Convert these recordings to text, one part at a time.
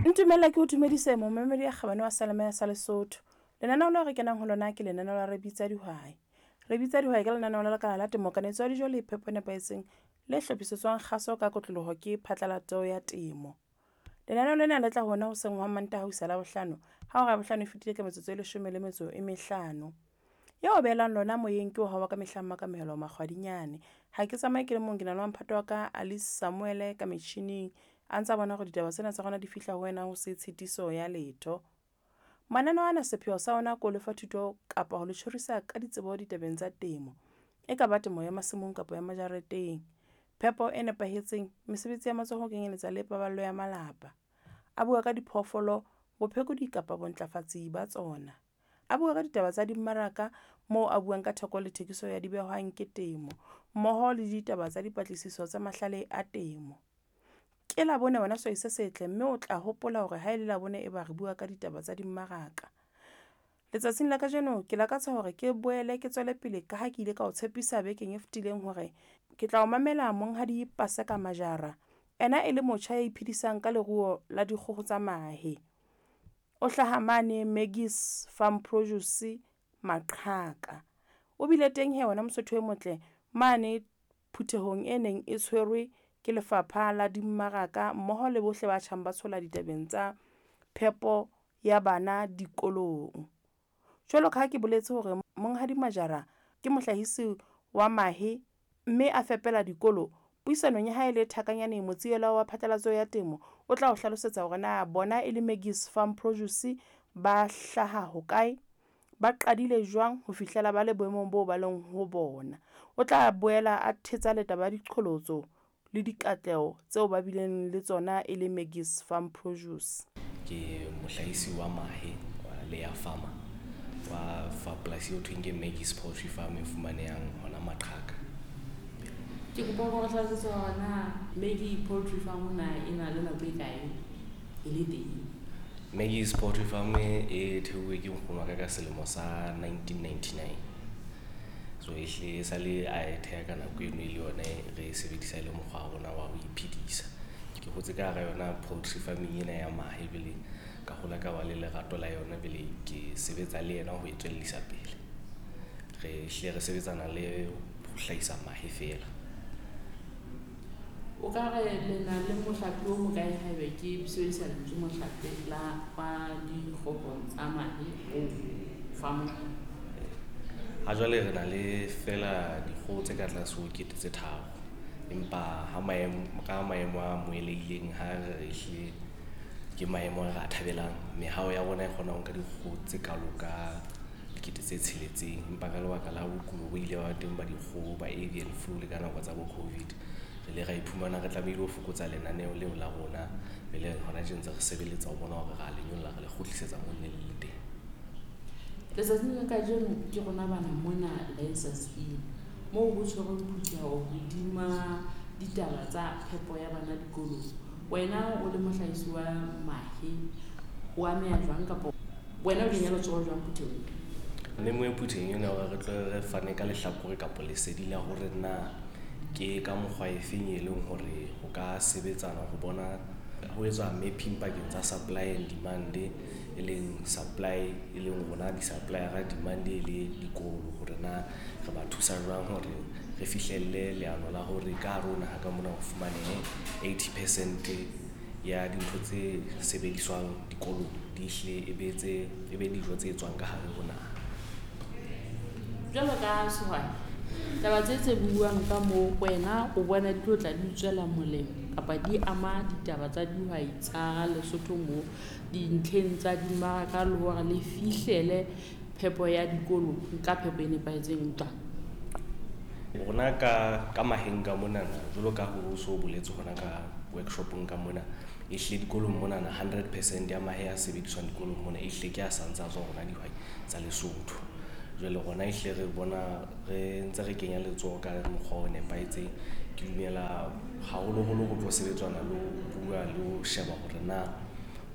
Ntumella ke o dumedise momamedi ya kgabane wa Salema ya sa Lesotho. Lenaneo leo re kenang ho lona ke lenaneo la Re Bitsa Dihwai. Re Bitsa Dihwai ke lenaneo la lekala la temo, kanetso ya dijo le phepo e nepahetseng le hlophisetswang kgaso ka kotloloho ke phatlalatso ya temo. Lenaneo lena le tla hona hoseng hwa Mantaha ho isa Labohlano ha hora ya bohlano e fetile ka metsotso e leshome le metso e mehlano. Eo o behelang lona moyeng ke wa hao wa ka mehla Makamohelo Makgwadinyane. Ha ke tsamaye ke le mong, ke na le wa mphato wa ka Alice Samuele ka metjhining a ntsa bona hore ditaba tsena tsa rona di fihla ho wena ho se tshitiso ya letho. Mananeo ana sepheo sa ona ke ho lefa thuto kapa ho le tjhorisa ka ditsebo ditabeng tsa temo. E ka ba temo ya masimong kapa ya majareteng. Phepo e nepahetseng, mesebetsi ya matsoho ho kenyeletsa le paballo ya malapa. A bua ka diphoofolo, bophekodi kapa bontlafatsi ba tsona. A bua ka ditaba tsa dimmaraka moo a buang ka theko le thekiso ya dibehwang ke temo, mmoho le ditaba tsa dipatlisiso tsa mahlale a temo. Ke Labone wena sehwai se setle, mme o tla hopola hore ha e le Labone e ba re bua ka ditaba tsa dimmaraka. Letsatsing la kajeno ke lakatsa hore ke boele ke tswele pele ka ha ke ile ka o tshepisa bekeng e fetileng hore ke tla o mamela Monghadi Paseka Majara. Ena e le motjha ya iphedisang ka leruo la dikgoho tsa mahe. O hlaha mane Maggie's Farm Produce Maqhaka. O bile teng he wena Mosotho e motle mane phuthehong e neng e tshwerwe ke lefapha la dimmaraka mmoho le bohle ba tjhang ba tshola ditabeng tsa phepo ya bana dikolong. Jwalo ka ha ke boletse hore Monghadi Majara ke mohlahisi wa mahe mme a fepela dikolo, puisanong ya hae le Thakanyane Motsiela wa phatlalatso ya temo o tla o hlalosetsa hore na bona e le Maggie's Farm Produce ba hlaha hokae, ba qadile jwang ho fihlela ba le boemong boo ba leng ho bona. O tla boela a thetsa le taba ya diqholotso le dikatleho tseo ba bileng le tsona e le Maggie's Farm Produce. Ke mohlahisi wa mahe wa layer farmer wa fa polasi eo thweng ke Maggie's Poultry Farm e fumanehang hona Maqhaka. Ke kopa hore o hlalosetse hore na Maggie Poultry Farm na e na le nako e kae e le teng. Maggie's Poultry Farm e theuwe ke nkgono wa ka ka selemo sa 1999. So ehlile e sale a e theha ka nako eno e le yone re e sebedisa e le mokgwa wa rona wa ho iphedisa. Ke hotse ka hara yona poultry farming ena ya mahe, jwale ka hola ka ba le lerato la yona, jwale ke sebetsa le yena ho e tswellisa pele. Re hlile re sebetsana le ho hlahisa mahe feela. O ka re le na le mohlape o mokae haebe ke sebedisa lentswe mohlape la wa dikgoho tsa mahe o farmong? Ha jwale re na le feela dikgoho tse ka tlase ho 3000, empa ha maemo ka maemo a amohelehileng ha re ehlile ke maemo a re a thabelang. Mehao ya rona e kgona ho nka dikgoho tse kalo ka 6000, empa ka lebaka la bokulo bo ile ba teng ba dikgoho ba avian flu le ka nako tsa bo COVID, re ile ra iphumana re tlamehile ho fokotsa lenaneo leo la rona. Jwale hona tje ntse re sebeletsa ho bona hore ra le nyolla, re le kgutlisetsa moo ne le le teng. Letsatsing la kajeno ke rona bana mona Lancers Inn moo ho tshwerweng phutheho hodima ditaba tsa phepo ya bana dikolong. Wena o le mohlahisi wa mahe o ameha jwang kapa wena o kenya letsoho jwang phuthehong? Memo e phuthehong ena hore re tlo re fane ka lehlakore kapa lesedi la hore na ke ka mokgwa e feng e leng hore ho ka sebetsana ho bona ho etswa mapping pakeng tsa supply and demand, e leng supply e leng rona di-supplier-a, demand e le dikolo, hore na re ba thusa jwang hore re fihlelle leano la hore ka hare ho naha ka mona ho fumanehe 80% ya dintho tse sebediswang dikolong di hle e be tse e be dijo tse tswang ka hare ho naha. Jwalo ka sehwai, taba tse tse buuwang ka moo wena o bona di tlo tla di tswela molemo kapa di ama ditaba tsa dihwai tsa Lesotho mo dintlheng tsa dimmaraka le hore le fihlele phepo ya dikolo ka phepo e nepahetseng jwang? Rona ka maheng ka monana, jwalo ka ho so boletse hona ka workshopong ka mona, ehlile dikolong monana 100% ya mahe a sebediswang dikolong mona ehlile ke a santse a tswa rona dihwai tsa Lesotho. Jwale rona ehlile re bona re ntse re kenya letsoho ka mokgwa o nepahetseng. Ke dumela haholoholo ho tlo sebetsana le ho bua le ho sheba hore na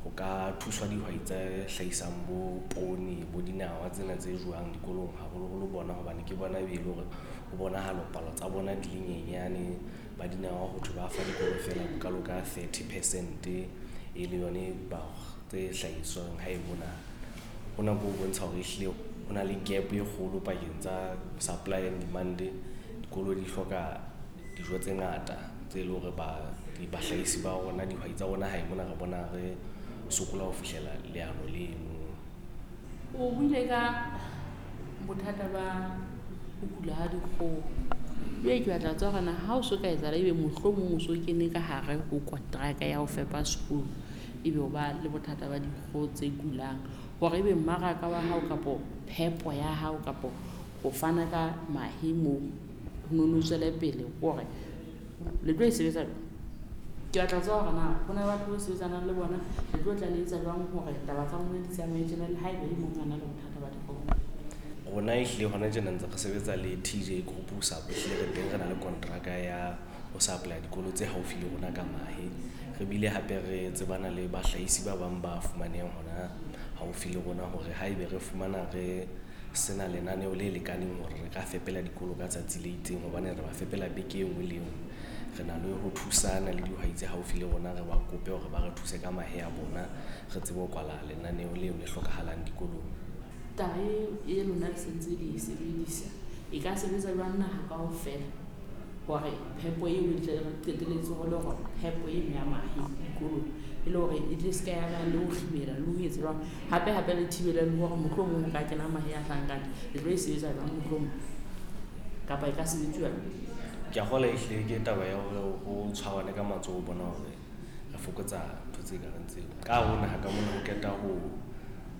ho ka thuswa dihwai tse hlahisang bo poone, bo dinawa tsena tse jewang dikolong haholoholo bona, hobane ke bona be le hore ho bonahala palo tsa bona di le nyenyane. Ba dinawa ho thwe ba fa dikolo feela bokalo ka 30% e le yone tse hlahiswang hae mona. Hona ke ho bontsha hore ehlile ho na le gap e kgolo pakeng tsa supply and demand. Dikolo di hloka dijo tse ngata tse leng hore bahlahisi ba rona, dihwai tsa rona hae mona re bona re sokola ho fihlela leano leno. O buile ka bothata ba ho kula ha dikgoho. Jwale ke batla ho tseba hore na ha o so ka etsahala ebe mohlomong o so kene ka hare ho kontraka ya ho fepa sekolo, ebe o ba le bothata ba dikgoho tse kulang, hore ebe mmaraka wa hao kapo phepo ya hao kapo ho fana ka mahe moo ho nono tswele pele, hore le tlo e sebetsa jwang? Ke batla ho tseba hore na ho na le batho bo sebetsanang le bona, le tlo tla le etsa jwang hore taba tsa lona di tsamaye tjena le haeba e mong a na le bothata ba dikgoho? Rona ehlile hona tjena ntse re sebetsa le TJ Group ho ehlile re teng re na le kontraka ya ho supply dikolo tse haufi le rona ka mahe. Re bile hape re tsebana le bahlahisi ba bang ba fumanehang hona haufi le rona hore haebe re fumana re sena lenaneo le lekaneng hore re ka fepela dikolo ka tsatsi le itseng, hobane re ba fepela beke e nngwe le e nngwe. Re na le ho thusana le dihwai tse haufi le rona, re ba kope hore ba re thuse ka mahe a bona, re tsebe ho kwala lenaneo leo le hlokahalang dikolong. Taba e lona le sentse le e sebedisa e ka sebetsa jwang naha kaofela hore phepo eo e tle re qetelletse ho le hore phepo eno ya mahe dikolong e le hore e tle se ka ya ba le ho kgibela le ho etsa jwang, hape hape le thibele le hore mohlomong ho ka kena mahe a hlahang ka ntle, le tlo e sebetsa jwang mohlomong kapa e ka sebetsuwa jwang? Ke a kgolwa ehlile ke taba ya hore ho tshwarane ka matsoho ho bona hore re fokotsa ntho tse kareng tseo. Ka hare ho naha ka mona ho qeta ho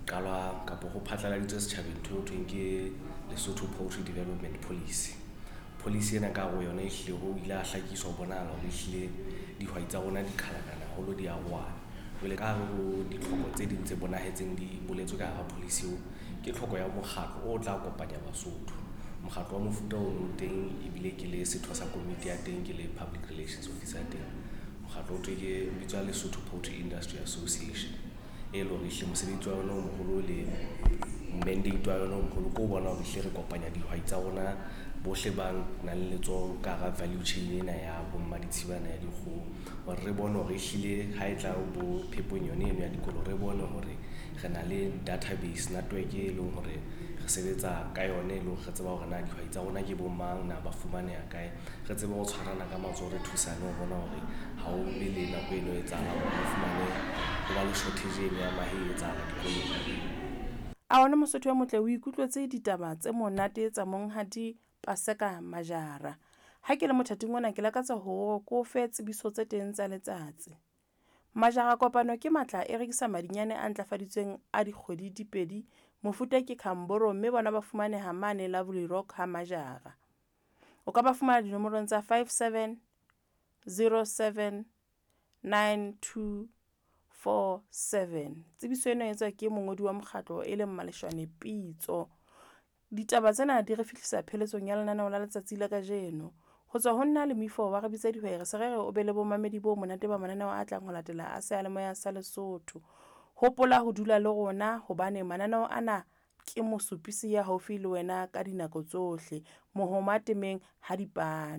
qalwa kapo ho phatlaladitswe setjhabeng ntho e ho thweng ke Lesotho Poultry Development Policy. Policy ena ka hare ho yona ehlile ho ile ha hlakiswa ho bonahala hore ehlile dihwai tsa rona di qhalakana haholo, di arohana. Jwale ka hare ho ditlhoko tse ding tse bonahetseng di boletswe ka hara policy eo, ke tlhoko ya mokgatlo o tla kopanya Basotho. Mokgatlo wa mofuta ono o teng, ebile ke le setho sa komiti ya teng, ke le public relations officer ya teng. Mokgatlo o thwe ke o bitswa Lesotho Poultry Industry Association, e leng hore ehlile mosebetsi wa yona o moholo le mandate wa yona o moholo ke ho bona hore ehlile re kopanya dihwai tsa rona bohle ba nang le letsoho ka hara value chain ena ya bo mmaditshibana ya dikgoho, hore re bone hore ehlile ha e tla bo phepong yone eno ya dikolo, re bone hore re na le database network e leng hore re sebetsa ka yona, e leng hore re tseba hore na dihwai tsa rona ke bo mang, na ba fumaneha kae, re tsebe ho tshwarana ka matsoho, re thusane ho bona hore ha o be le nako eno e etsahalang hore o fumane ho ba le shortage eno ya mahe e etsahala dikolong. A wena Mosotho o motle, o ikutlwetse ditaba tse monate tsa monghadi Paseka Majara. Ha ke le mothating ona, ke lakatsa hore ke o fe tsebiso tse teng tsa letsatsi. Majara Kopano ke matla e rekisa madinyane a ntlafaditsweng a dikgwedi di pedi, mofuta ke Khamboro, mme bona ba fumaneha mane Lovely Rock ha Majara. O ka ba fumana dinomorong tsa 57 07 92 47. Tsebiso ena e etswa ke mongodi wa mokgatlo e leng Maleshwane Pitso. Ditaba tsena di re fihlisa pheletsong ya lenaneo la letsatsi la kajeno. Ho tswa ho nna le moifo wa re bitsa dihwai, re se re re o be le bomamedi bo monate ba mananeo a tlang ho latela a seyalemoya sa Lesotho. Hopola ho dula le rona hobane mananeo ana ke mosupisi ya haufi le wena ka dinako tsohle. Mohoma temeng ha dipane.